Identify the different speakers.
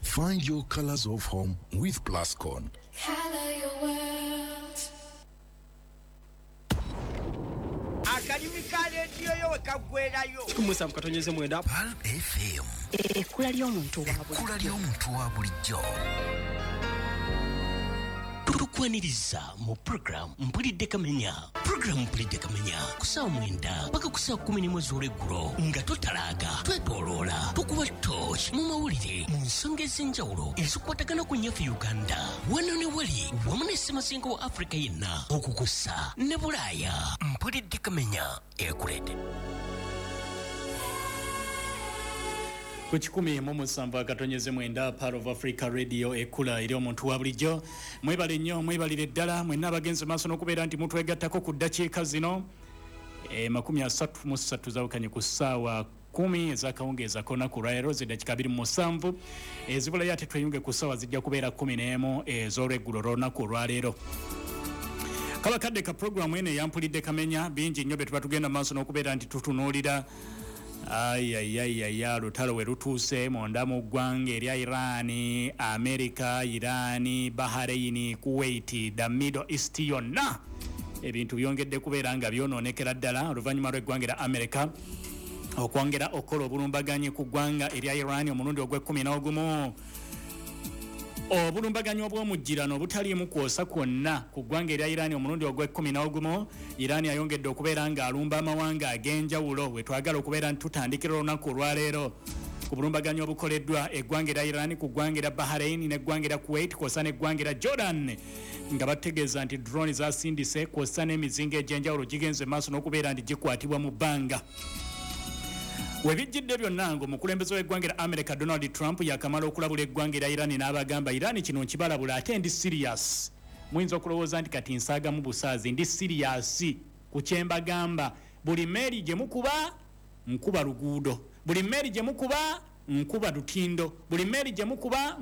Speaker 1: Find your colors of home with Plascon.
Speaker 2: Color your world.
Speaker 3: Akalimi ka leediyo yo we kaggwerayo.
Speaker 4: 17.9
Speaker 5: Pearl FM.
Speaker 6: Ekkula ly'omuntu wa bulijjo.
Speaker 5: Ekkula ly'omuntu wa bulijjo.
Speaker 7: Tukwaniriza mu program Mpulidde Kamenya. Program Mpulidde Kamenya ku ssaawa 9 paka ku ssaawa 11 ez'olweggulo nga totalaaga, twetooloola, tukuba torch mu mawulire mu nsonga ez'enjawulo ezikwatagana ku nnyaffe Uganda wano ne wali wamu ne ssemazinga wa Africa yenna okukusa ne Bulaaya. Mpulidde Kamenya ekuleetedde
Speaker 8: ku 107.9 Pearl of Africa Radio, ekkula eri omuntu wa bulijjo. Mwebale nnyo, mwebalire ddala mwenna abagenze maaso n'okubeera nti mutwegattako ku ddakiika zino 33 zawukanye ku ssaawa 10 ez'akawungeezi ak'olunaku olwaleero, zeddakiika 27 ezibulayo ate tweyunge ku ssaawa zijja kubeera 11 ez'olweggulo lw'olunaku olwaleero. Kaba kadde ka puroguramu eno eyampulidde Kamenya, bingi nnyo bye tuba tugenda maaso n'okubeera nti tutunuulira. Ayayayaya, lutalo we lutuuse munda mu ggwanga erya Iran, America, Iran, Bahrain, Kuwait, the Middle East yonna ebintu byongedde kubeera nga byonoonekera ddala oluvannyuma lw'eggwanga erya America okwongera okukola obulumbaganyi ku ggwanga erya Iran omulundi ogw'ekkumi n'ogumu. Obulumbaganyi obw'omujjirano obutaliimu kwosa kwonna ku ggwanga erya Iran omulundi ogw'ekkumi n'ogumu. Iran ayongedde okubeera ng'alumba amawanga ag'enjawulo. We twagala okubeera nti tutandikira olunaku olwaleero ku bulumbaganyi obukoleddwa eggwanga erya Iran ku ggwanga erya Bahrain n'eggwanga erya Kuwait kwossa n'eggwanga erya Jordan, nga bategeeza nti drone zasindise kwossa n'emizinga egy'enjawulo gigenze maaso n'okubeera nti gikwatibwa mu bbanga. Webijjidde byonna ng'omukulembeze w'eggwanga erya America Donald Trump yakamala okulabula eggwanga erya Iran n'abagamba, Iran kino nkibalabula ate ndi serious. Muyinza okulowooza nti kati nsaagamu busaazi, ndi serious ku kye mbagamba. Buli mmeeri gye mukuba nkuba luguudo, buli mmeeri gye mukuba nkuba lutindo, buli mmeeri gye mukuba